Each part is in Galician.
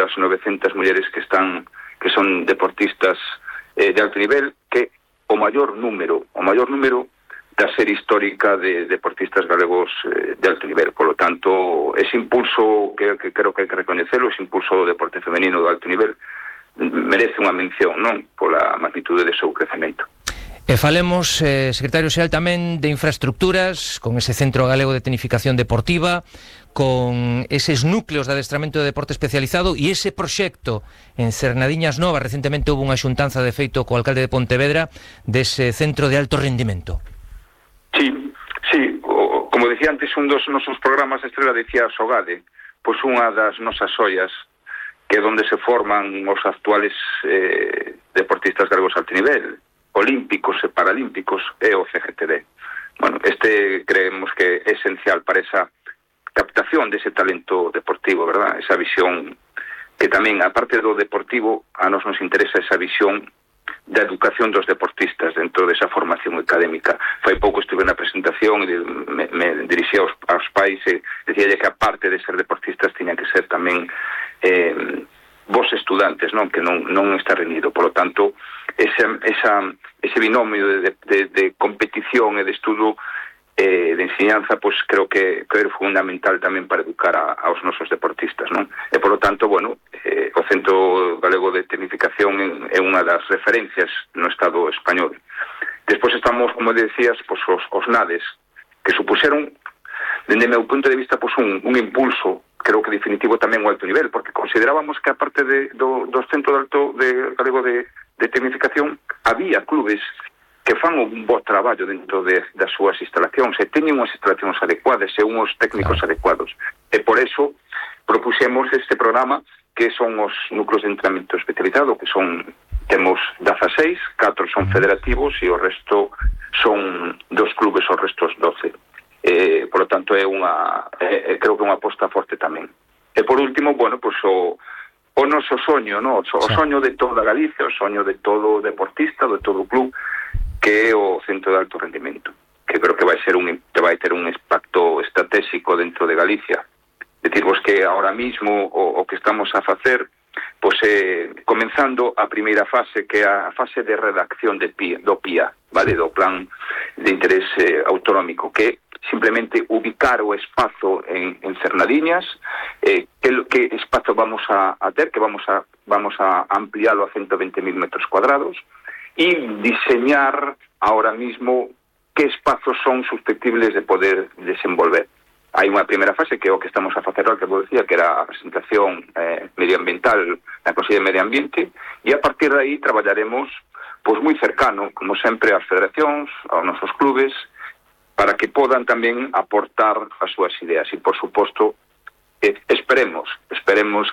das 900 mulleres que son deportistas de alto nivel, que o maior número da serie histórica de deportistas galegos de alto nivel. Por lo tanto, ese impulso que creo que hai que recoñecelo, ese impulso do deporte femenino de alto nivel, merece unha mención, non? Pola magnitude de seu crecemento. E falemos, secretario xeral, tamén de infraestructuras, con ese Centro Galego de Tecnificación Deportiva, con eses núcleos de adestramento de deporte especializado e ese proxecto en Cernadiñas Novas. Recentemente houve unha xuntanza de feito co alcalde de Pontevedra dese centro de alto rendimento. Sí, como decía antes, un dos nosos programas estrela decía Sogade, pois unha das nosas ollas, que é onde se forman os actuales deportistas galegos alto nivel, olímpicos e paralímpicos, é o CGTD. Bueno, creemos que é esencial para esa captación dese talento deportivo, verdad? Esa visión que tamén, aparte do deportivo, a nos interesa esa visión da educación dos deportistas dentro desa formación académica. Fai pouco estuve na presentación e me dirixía aos pais e decía que aparte de ser deportistas tiñan que ser tamén vos estudantes, non? Que non está reunido. Por lo tanto, ese binomio de competición e de estudo de enseñanza, pois creo que é fundamental tamén para educar aos nosos deportistas, non? E por lo tanto, bueno, o Centro Galego de Tecnificación é unha das referencias no Estado español. Despois estamos, como decías, pois os NADES, que supuseron, dende o meu punto de vista, pois un impulso, creo que definitivo tamén o alto nivel, porque considerábamos que aparte do Centro Galego de Tecnificación había clubes que fan un bo traballo dentro das súas instalacións e teñen unhas instalacións adecuadas e unhos técnicos adecuados. E por eso propuxemos este programa que son os núcleos de entrenamiento especializado, que temos 16, 4 son federativos e o resto son 2 clubes, os restos 12. Por lo tanto, creo que é unha aposta forte tamén. E por último, bueno, pues o noso soño, no? O soño de toda Galicia, o soño de todo deportista, de todo club, que é o Centro de Alto Rendimento, que creo que vai ter un impacto estratégico dentro de Galicia. Decirvos que ahora mismo o que estamos a facer, pois comenzando a primeira fase, que é a fase de redacción do PIA, vale, do Plan de Interés Autonómico, que simplemente ubicar o espazo en Cernadiñas, que espazo vamos a ter, que vamos a ampliarlo a 120.000 metros cuadrados, e diseñar ahora mismo que espazos son susceptibles de poder desenvolver. Hai unha primeira fase que é o que estamos a facer, que vos decía, que era a presentación medioambiental na Consellería de Medio Ambiente, e a partir de aí traballaremos pois moi cercano, como sempre, ás federacións, aos nosos clubes, para que podan tamén aportar as súas ideas. E, por suposto, esperemos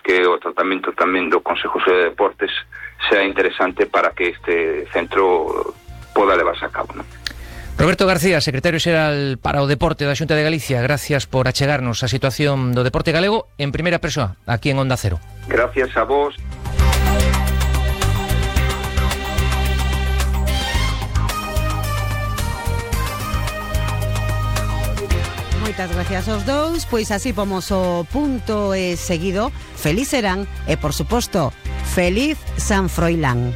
que o tratamento tamén do Consejo de Deportes sea interesante para que este centro poda levarse a cabo, non? Roberto García, secretario xeral para o Deporte da Xunta de Galicia, gracias por achegarnos a situación do deporte galego en primeira persoa, aquí en Onda Cero. Gracias a vos. Moitas gracias aos dous, pois así pomos o punto e seguido. Feliz serán e, por suposto, feliz San Froilán.